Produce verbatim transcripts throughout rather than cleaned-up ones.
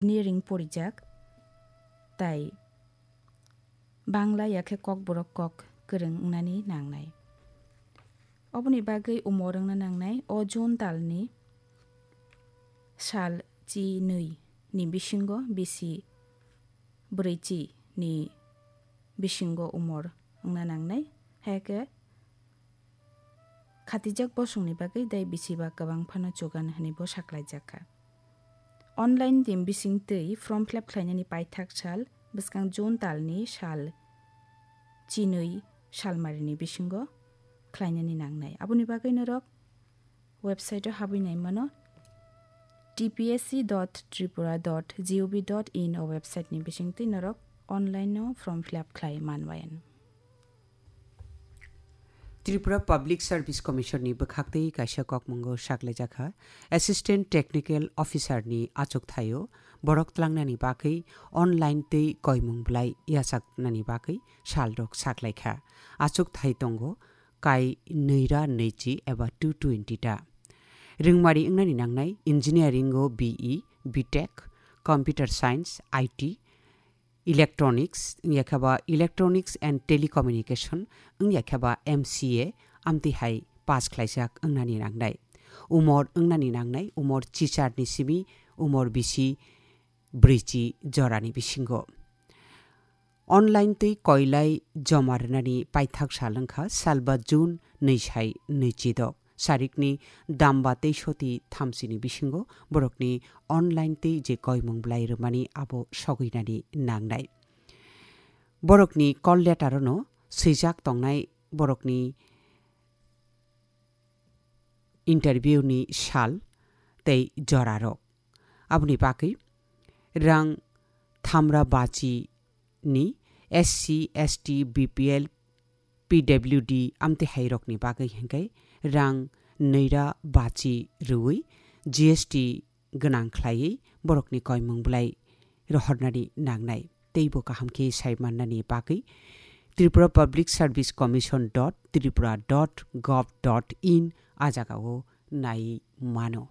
engineering porijak, tai Bangla yakhe Kokborok kok kwrwng wngnani nangnai. Oboni bagwi umor wngna nangnai o June talni sal chi nwi ni bisingo bisi bwrwi chi ni bisingo umor wngna nangnai. Haikhe khatijak bosongni bagwi dai bisi ba kwbang phano chugan hwnwi bo saklaijak kha. Online team bising twi form fill up khlainani paithak sal bwskang June talni sal chinwi salmarini bisingo khlainani nangnai. Aboni bagwi norok website-o habwi nai mano, T P S C dot tripura dot gov dot in o website-ni bisingtwi norok online-o form fill up khlai manbayan. Tripura Public Service Commission-ni bwkhaktwi kaisa kokmungo saklaijakha, Assistant Technical Officer-ni achukthai-o borok tlangnani bagwi online tei koimung bwlai yachaknani bagwi salrok saklaikha. Achukthai tongo kai nwira nwichi eba two twenty ta. Rwngmari wngnani nangnai engineering-o B E, B Tech, Computer Science, I T, Electronics, wngya khe ba Electronics and Telecommunication, wngya khe ba M C A, amtwi hai pass khlaijak wngnani nangnai. Umor wngnani nangnai, umor chicharni simi, umor bisi bwrwichi jorani bisingo. Online twi koilai joma rwnani paithak sal wngkha salba June nwi sai nwi chidok. Sarikni damba tei soti thamsini bisingo borokni online tei je koimung bwlai rwmani abo sogwinani nangnai. Borokni call letter-ono swijak tongnai borokni interview-ni sal tei jorarok. Aboni bagwi rang thamra bachi ni S C, S T, B P L, P W D amtwi hairokni bagwi hwnkhe rang nwira bachi rwui G S T gwnang khlaiwi borokni koimung bwlai rohornani nangnai. Teibo kaham khe sai mannani bagwi Tripura Public Service Commission dot tripura dot gov dot in a jagao nai mano.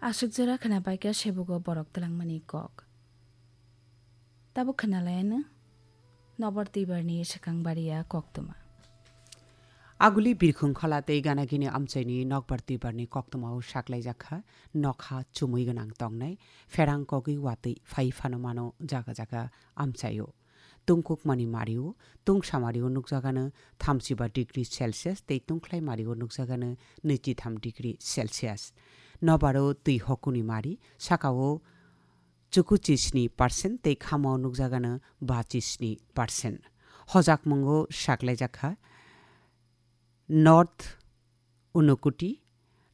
Aswk jora khwnapaikha sebugo borok twlangmani kok. Tabuk khwnalaiano Nokbar Twibarni swkang bariya koktwma. Aguli Birkhung Khola tei Ganagini amchaini Nokbar Twibarni koktwmao saklaijakha nokha chumui gwnang tongnai, pherang kogwi watwi phai phano mano jaga jaga amchaio. Tungkukmani mario, tungsa mario nukjagano thamsiba degree Celsius tei tungkhlai mario nukjagano nwichitham degree Celsius. Nobaro twi hokuni mari, sakao chukuchisni percent tei khamao nukjagano bachisni percent. Hojakmungo saklaijakha North Unakoti,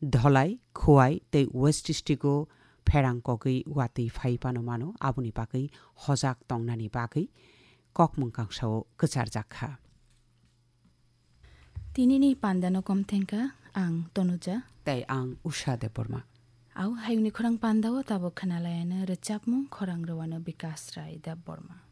Dholai, Khowai tei West District-o pherang kogwi watwi phai phano mano, aboni bagwi hojak tongnani bagwi kokmung kangsao kwcharjak kha. Tinini pandano kom thengkha ang Tonuja. Tei ang Usha Debbarma. Au hayungni khorang pandao tabuk khwnalaiano rwchapmung khorang rwano Bikas Rai Debbarma.